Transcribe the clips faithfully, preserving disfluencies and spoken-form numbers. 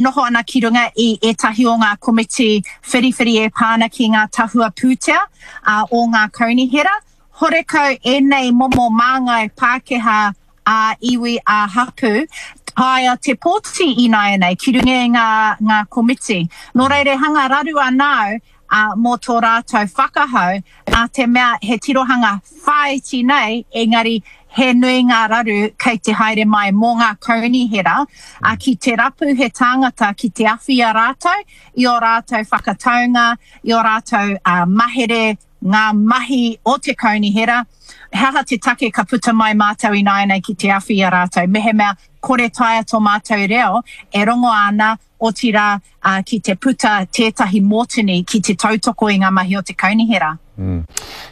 Noho ana ki runga i ētahi o ngā komiti whiriwhiri e pā ana ki ngā tahua pūtea o ngā kaunihera. Horekau ēnei momo māngai Pākehā ā-iwi, ā-hapū taea te pōti ināianei ki runga i ngā, ngā komiti. Nō reira e hanga raru ana au ā, mō tō rātou whakahau, nā te mea he tirohanga whāiti nei, engari he nui ngā raru kei te haere mai mō ngā kaunihera, ā, ki te rapu he tāngata ki te awhi i a rātou, i ō rātou whakataunga, i ō rātou mahere, ngā mahi o te kaunihera, he aha te take ka puta mai mātou ināianei ki te awhi i a rātou, mehemea kore taea tō mātou reo e rongo ana, otirā, ki te puta tētahi mōtini ki te tautoko i ngā mahi o te kaunihera.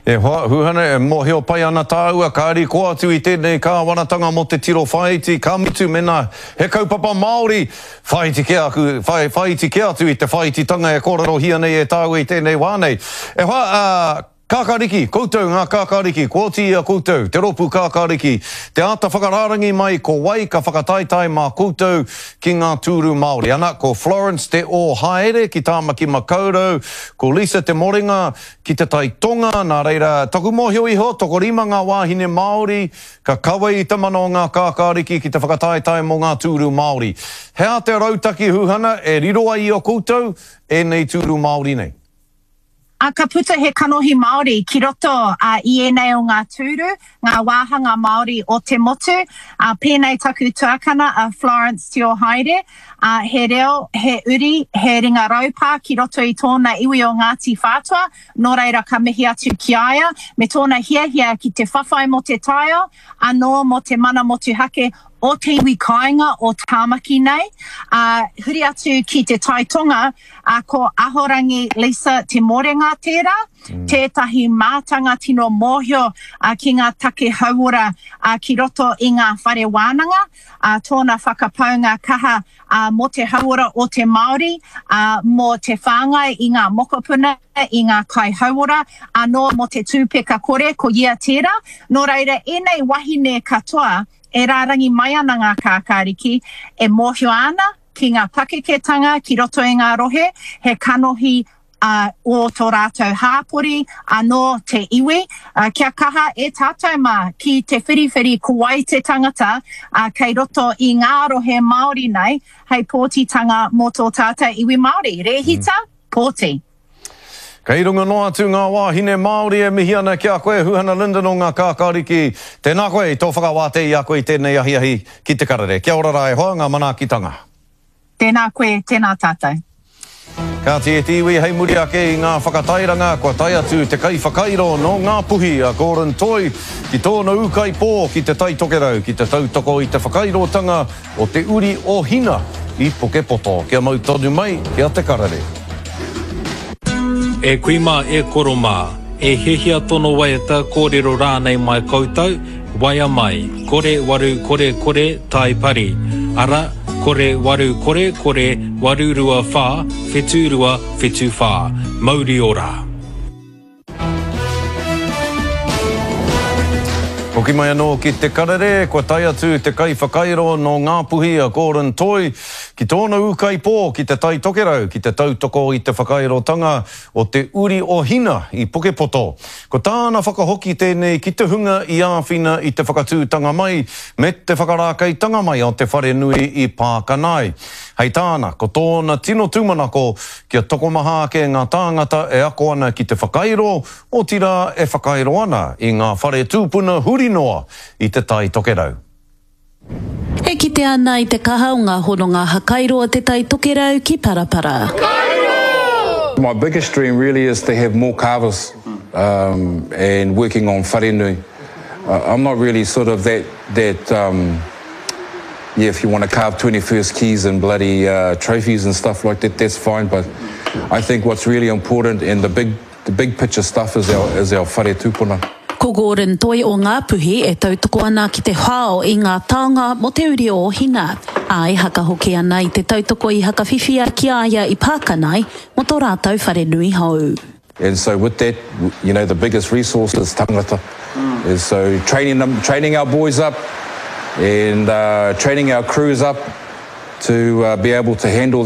E hoa, Huhana, e mōhio pai ana tāua, kāri koa atu i tēnei kāwanatanga mō te tiro whāiti, ka mutu mēnā he kaupapa Māori, whāiti kē aku, whai, whāiti kē atu i te whāititanga e kōrerohia nei e tāua i tēnei wā nei. E hoa, ā, Kākāriki, koutou ngā kākāriki, kua oti i a koutou, te rōpū kākāriki, te āta whakarārangi mai ko wai ka whakataetae mā koutou ki ngā tūru Māori. Ana, ko Florence Te Ōhaere ki Tāmaki Makaurau, ko Lisa Te Morenga ki Te Tai Tonga, nā reira, taku mōhio iho, tokorima ngā wāhine Māori ka kawe i te mana o ngā kākāriki ki te whakataetae mō ngā tūru Māori. He aha te rautaki huhana e riro ai i a koutou ēnei tūru Māori nei? Ā, ka puta he kanohi Māori ki roto i ēnei o ngā tūru, ngā wāhanga Māori o te motu, ā, pēnei taku tuakana a Florence Tiohaere, ā, he reo, he uri, he ringa raupā ki roto i tōna iwi o Ngāti Whātua, nō reira ka mihi atu ki a ia, me tōna hiahia ki te whawhai mō te taiao, anō mō te mana motuhake o te iwi kāinga o Tāmaki nei, ā, huri atu ki te Tai Tonga, ā, ko Ahorangi Lisa Te Morenga tērā, tētahi mātanga tino mōhio ki ngā take hauora ki roto i ngā whare wānanga, ā, tōna whakapaunga kaha mō te hauora o te Māori, ā, mō te whāngai i ngā mokopuna, i ngā kaihauora, anō mō te tūpeka kore, ko ia tērā. Nō reira, ēnei wahine katoa, E rārangi mai ana ngā kākāriki e mōhio ana ki ngā pakeketanga ki roto i ngā rohe, he kanohi ō tō rātou hāpori, anō te iwi. Kia kaha e tātou mā ki te whiriwhiri ko wai te tangata kei roto i ngā rohe Māori nei hei pōtitanga mō tō tātou iwi Māori. Rēhita, pōti. Kei runga noa atu ngā wāhine Māori e mihi ana ki a koe, Huhana Lyndon o Ngā Kākāriki. Tēnā koe i tō whakawātea i a koe i tēnei ahiahi ki Te Karere. Kia ora rā e hoa, ngā manaakitanga. Tēnā koe, tēnā tātou. Kāti e te iwi, hei muri ake i ngā whakatairanga, kua tae atu te kaiwhakairo nō Ngāpuhi a Gordon Toi ki tōna ūkaipō ki Te Tai Tokerau ki te tautoko i te whakairotanga o te uri o Hina i Pukepoto. Kia mau tonu mai ki a Te Karere. E kui mā, e koro mā, e hiahia tono waiata, kōrero rānei mai koutou, waea mai, kore waru kore kore tai pari, ara, kore waru kore kore waru rua whā, whetū rua, whetū whā. Mauri ora! Hoki mai anō ki Te Karere, kua tae atu te kaiwhakairo nō Ngāpuhi a Gordon Toi ki tōna ūkaipō ki Te Tai Tokerau ki te tautoko i te whakairotanga o te uri o Hina i Pukepoto. Ko tāna whakahoki tēnei ki te hunga i āwhina i te whakatūtanga mai me te whakarākeitanga mai o te wharenui i Pākanae. Hei tāna, ko tōna tino tūmanako kia tokomaha ake ngā tāngata e ako ana ki te whakairo, otirā e whakairo ana i ngā whare tūpuna huri noa i Te Tai Tokerau. E kite ana i te kaha o ngā hononga hakairo o Te Tai Tokerau ki Parapara. My biggest dream really is to have more carvers um, and working on wharenui. Uh, I'm not really sort of that, that um, yeah, if you want to carve twenty-first keys and bloody uh, trophies and stuff like that, that's fine. But I think what's really important and the big, the big picture stuff is our, is our whare tūpuna. Ko Gordon Toi o Ngāpuhi e tautoko ana ki te whao i ngā taonga mō te uri o Hina, ā, e haka hoki ana i te tautoko i hakawhiwhia ki a ia i Pākanae mō tō rātou wharenui hou. And so with that, you know, the biggest resource is tangata. And so training them, training our boys up and, uh, training our crews up to uh, be able to handle